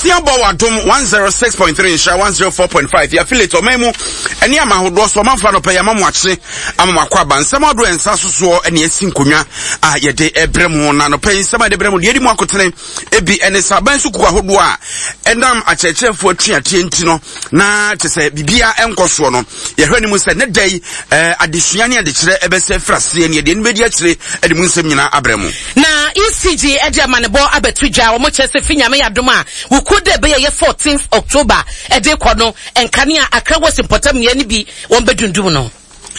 Nonsia bɔ wɔ Adom 106.3 Nhyira 104.5 yɛ affiliate ɔman mu ɛne ama ahodoɔ so ɔmanfoɔ anɔpɛ yɛama mo akye ama mo akɔ aba nsɛm ahodoɔ ɛnsa sosoɔ ɛne asi nkonnwa a yɛde ɛbrɛ mu na anɔpɛ yi nsɛm a yɛde brɛ mu deɛ ɛdi mu akotene ebi ɛne sɛ aban sukuu ahodoɔ a ɛnam akyerɛkyerɛfoɔ atuateɛ nti no na kyɛ sɛ biribiara ɛnkɔ soɔ no yɛhwɛ no mu sɛ ne da yi eh, adesua ne adekyerɛ ɛbɛsɛ firi aseɛ ne yɛde no bɛdi akyire de mu nsɛm nyinaa abrɛ mu. Na ECG de amanebɔ abɛto dwa, wɔn kyerɛ sɛ fi Nyame adom a wukuo da ɛbɛyɛ yɛ 14th October ɛde kɔ no, nkanea Accra West mpɔtam nnua no bi wɔn bɛdundum no.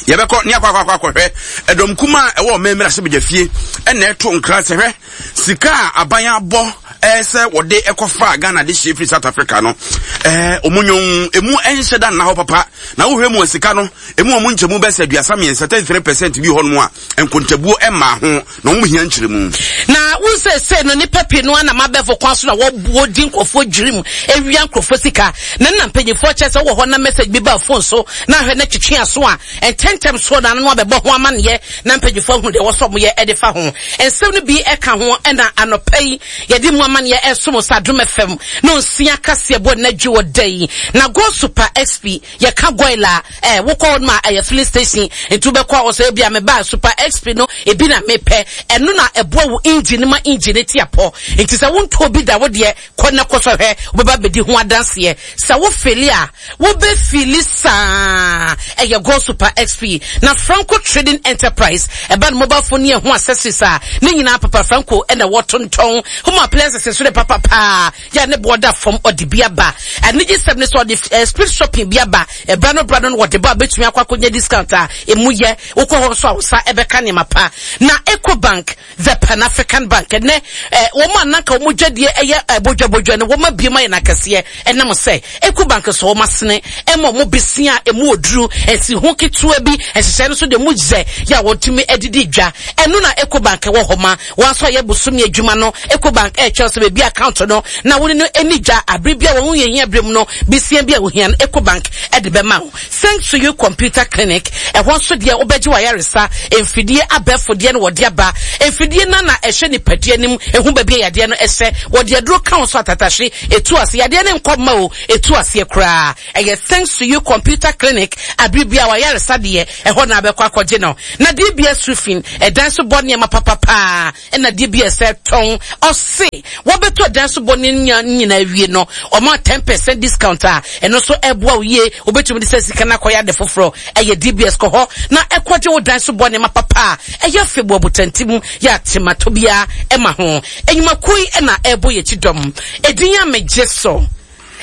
Yɛbɛkɔ ne akɔ akɔ akɔhwɛ ɛdɔm kuma a ɛwɔ ɔman mmarahyɛbadwa fie ɛna ɛto nkra sɛ hwɛ sika a aban abɔ ɛɛ sɛ wɔde ɛkɔfa Ghana de hyɛ firi South Africa no ɛɛ ɔmo nyɔn emu ɛnhyɛ da nna hɔ papa na wohwɛ mu a sika no emu ɔmo nkyɛmu bɛsɛ 33 33% bi hɔ nom a nkontabuo ɛmaa ho na wɔn hia nkyerɛmu. Na wo seesei no nnipa pii no ara nam abɛɛfo kwan so na wɔdi nkurɔfoɔ dwirim awia nkurɔfoɔ sika. Na nna mpanyinfoɔ kyerɛ sɛ wowɔ hɔ na message bi ba phone so na ahwɛ na twetwe aso a, ntɛntɛm soɔ na ano no abɛbɔ ho amaneɛ na mpanyinfoɔ ahunu deɛ ɛwɔ sɛ wɔyɛ de fa ho. Nsɛm no bi ka ho na anɔpa yi yɛde mu amaneɛ ɛresom sɛ Adom FM no nsia kaseɛbɔ nnadwo wɔ da yi. Na Go Super XP Yɛka goil a, eh, wokɔ hɔ nom a ɛyɛ filling station, nti wobɛkɔ a wɔsɛ ebia mebaa super XP no ebi na mepɛ. Ɛno na ɛboa wo engine no ma engine no te apɔ. Nti sɛ wontɔɔ bi da wo deɛ, kɔ na kɔsɔ hwɛ, wobɛba abɛdi ho adanseɛ. Sɛ wo fili a, wobɛ fili saa. Ɛyɛ Goil Super XP. Na Franco Trading Enterprise, ɛba no mobile phone ne ɛho accessories a, ne nyinaa Papa Franco na wɔtontɔn. Home appliances nso de papa paa. Yɛ a ne boɔ da fam ɔde bi aba. Anigyesɛm ne sɛ ɔde eh, speed shopping bi aba. Ɛbra no bra no no wɔde ba a bɛtumi akɔ akɔnya discount a ɛmu yɛ. Wokɔ hɔ nso a wo nsa ɛbɛka nneɛma pa. Na Ecobank, the Pan African Bank, ɛnɛ eh, wɔn a nanka wɔn dwadie ɛyɛ eh, bodwabodwa no wɔn abue mu ayɛ no akɛseɛ ɛnam sɛ Ecobank sɔ wɔn asene ɛma wɔn besia a ɛmu oduru, nsiho ketewa bi, nhyehyɛe no nso deɛ mu yɛ yɛ a wɔtumi adidi dwa. Ɛno na Ecobank wɔ hɔ ma. Wɔn nso a yɛ bosome adwuma no, Ecobank ɛrekyerɛ sɛ baabi account no na wo ne no ani dwa abere bi a wɔn ho hia bere mu no, besia bi a wohia no Ecobank de bɛma wo. Thanks to you Computer Clinic, ɛhɔ nso deɛ wobɛgye w'ayaresa, mfidie abɛɛfo deɛ no wɔde aba. Mfidie no na ɛhwɛ nipadua no mu, ɛhu baabi a yadeɛ no hyɛ. Wɔde aduro ka wo nso atatahwe, ɛtu ase. Yadeɛ no nkɔ mma o, ɛtu aseɛ koraa. Ɛyɛ Thanks to you Computer Clinic, abere bi a w'ayaresa deɛ, ɛhɔ na abɛkɔ akɔgye no. Na DBS Roofing, ɛdan so bɔ nneɛma papa paa ɛna DBS ɛtɔn. Ɔse wɔbɛtɔ dan so bɔ ne nyinaa awie no, ɔma 10% discount a ɛno nso ɛboa wo yie. Wobɛtumi de sɛ sika no akɔyɛ ade foforɔ. Ɛyɛ DBS kɔ hɔ na ɛkɔgye wo dan so bɔ nneɛma papa a ɛyɛ fɛ bu abotanti mu yɛ atematɔ biara ɛma ho. Enyumakuo yi ɛna ɛbɔ yɛn akyi dɔm. Edin a megye so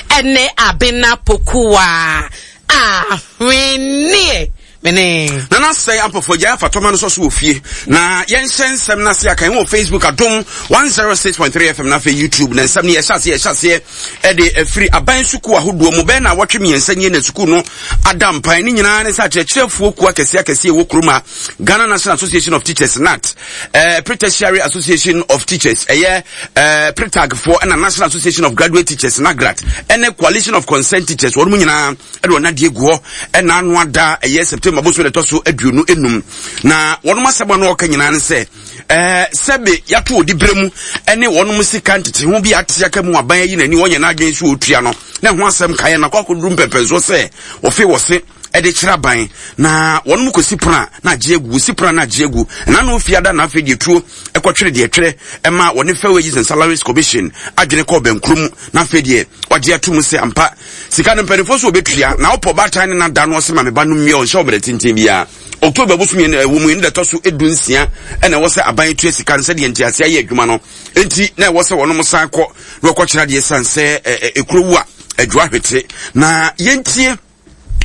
ɛne Abena Pokuwa Ahweneɛ. Mene. Nana sɛe ampɔfoɔ gyae afatɔma no sɔ so wɔ fie na yɛnhyɛ nsɛm no ase akan wɔ Facebook Adom 106.3 FM na afei YouTube na nsɛm no yɛhyɛ aseɛ yɛhyɛ aseɛ ɛde afiri aban sukuu ahodoɔ mu bɛyɛ na awɔtwe mmiɛnsa nie na sukuu no ada mpan ne nyinaa ne sɛ akyerɛkyerɛfoɔ kuo akɛseɛ akɛseɛ ɛwɔ kurom a Ghana National Association of Teachers NAT eh, Pre-Tertiary Association of Teachers ɛyɛ eh, PRETAG foɔ ɛna National Association of Graduate Teachers NAGRAT ɛne Coalition of Concerned Teachers wɔn mu nyinaa ɛde wɔn adeɛ gu hɔ ɛna ano ada ɛyɛ September bosom na ɛtɔ so 25 na wɔn asɛm a na wɔka nyinaa ne sɛ ɛɛ sɛbe yato odi bere mu ɛne wɔn sika ntete ho bi ate aka mu aban ayi n'ani wɔnyɛ n'adwene so otua no na ɛho asɛm kaeɛ na akɔ akɔduru mpɛmpɛnsoɔ sɛ wɔfe wɔse ɛde kyerɛ aban na wɔn mu kɔsi pono a na agye agu wɔsi pono a na agye agu ɛna no fiada na afei deɛ tuo ɛkɔtwere deɛ twerɛ ɛma wɔne Fair Wages and Salaries Commission adwene kɔɔ bɛnkuro mu na afei deɛ wagye ato mu sɛ ampa sika no mpanimfoɔ so wɔbɛtua na wopɔ baatan ne nada no ɔse ma me ba no mmea ɔnhyɛ ɔbrɛ tenten biara October bosom yɛn ɛwɔ mu yɛn da ɛtɔ so 16 ɛna ɛwɔ sɛ aban tua sika no sɛdeɛ nteaseɛ ayɛ adwuma no enti na ɛwɔ sɛ wɔnom san kɔ na wɔkɔkyerɛ adeɛ san sɛ ɛkuro wu a adwoa hwete na yɛntie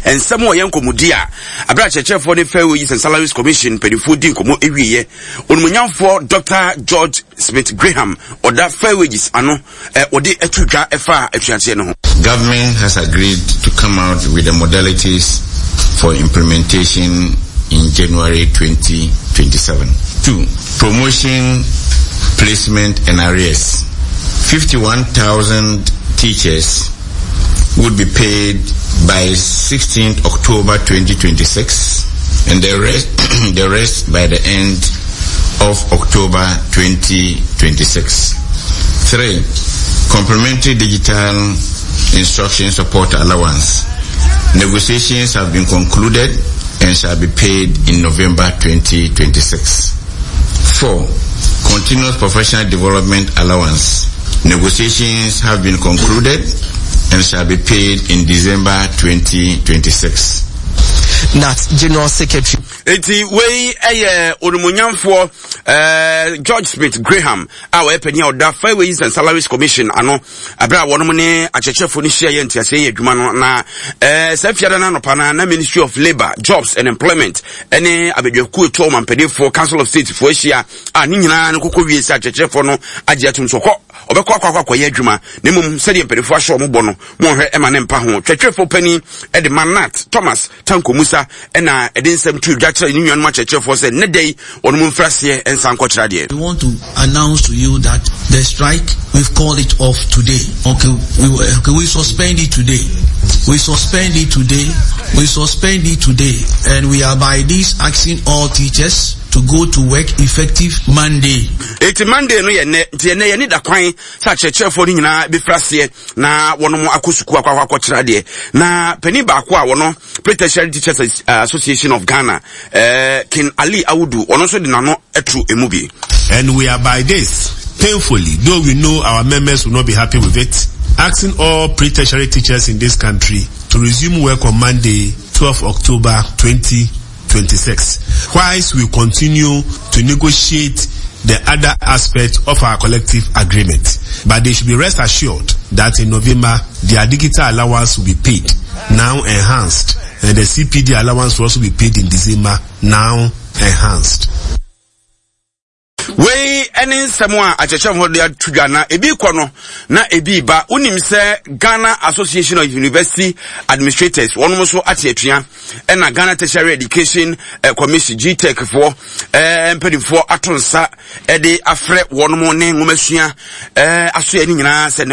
nsɛm a ɔyɛ nkɔmmɔdi a abere akyerɛkyerɛfoɔ ne Fair Wages and Salaries Commission mpanimfoɔ di nkɔmmɔ awieɛ onimonyamfoɔ Dr. George Smith Graham ɔda Fair Wages ano wɔde ato dwa ɛfa atuateɛ no ho. Government has agreed to come out with the modalities for implementation in January 2027. 2. Promotion, placement and arrears. 51,000 teachers would be paid by 16th October 2026 and the rest, the rest by the end of October 2026. 3. Complementary digital instruction support allowance. Negotiations have been concluded and shall be paid in November 2026. 4. Continuous professional development allowance. Negotiations have been concluded and shall be paid in December 2026. Nat General Secretary. Eti wei ɛyɛ onimonyamfoɔ eh, George Smith Graham a ɔyɛ panyin a ɔda Fair Wages and Salaries Commission ano abere a wɔnom ne akyerɛkyerɛfoɔ no hyia yɛ nteaseɛ yɛ adwuma no na eh, saa fiada no anɔpa no na Ministry of Labour, Jobs and Employment ne abadwakuo etu ɔmampaninfoɔ Council of State foɔ ahyia a ne nyinaa no kɔkɔ wie sɛ akyerɛkyerɛfoɔ no agye atum so kɔ ɔbɛkɔ akɔ akɔ akɔyɛ adwuma na mmom sɛdeɛ mpanimfoɔ ahyɛ wɔn bɔ no monhwɛ ɛma ne mpa ho twɛtwɛfoɔ panin de ma Nat Thomas Tanko Musa ɛna ɛde nsɛm to dwa kyerɛ ne nuanom akyerɛkyerɛfoɔ sɛ nnɛ da yi wɔn mu mfiri aseɛ nsa nkɔkyerɛ adeɛ. We want to announce to you that the strike we've called it off today. Okay, we, okay, we suspend it today. We suspend it today. We suspend it today, and we are by this asking all teachers to go to work effective Monday. Eti Monday no yɛ nnɛ nti ɛnɛ yɛne da kwan sɛ akyerɛkyerɛfoɔ no nyinaa bɛfiri aseɛ na wɔnom akɔ sukuu akɔ akɔ akɔkyerɛ adeɛ na panin baako a wɔno Pre-Tertiary Teachers Association of Ghana eh, King Ali Awudu ɔno nso de n'ano atu emu bi. And we are by this, painfully, though we know our members will not be happy with it, asking all pre-tertiary teachers in this country to resume work on Monday, 12 October 2026, whilst we continue to negotiate the other aspects of our collective agreement. But they should be rest assured that in November, their digital allowance will be paid, now enhanced, and the CPD allowance will also be paid in December, now enhanced. Wei ne nsɛm a akyerɛkyerɛfoɔ de ato dwa na ebi kɔ no na ebi ba. Wonim sɛ Ghana Association of University Administrators wɔnom nso ate atua ɛna Ghana Tertiary Education eh, Commission GTEC foɔ eh, mpanimfoɔ ato nsa de afrɛ wɔnom ne nwomasua eh, asoɛ no nyinaa sɛ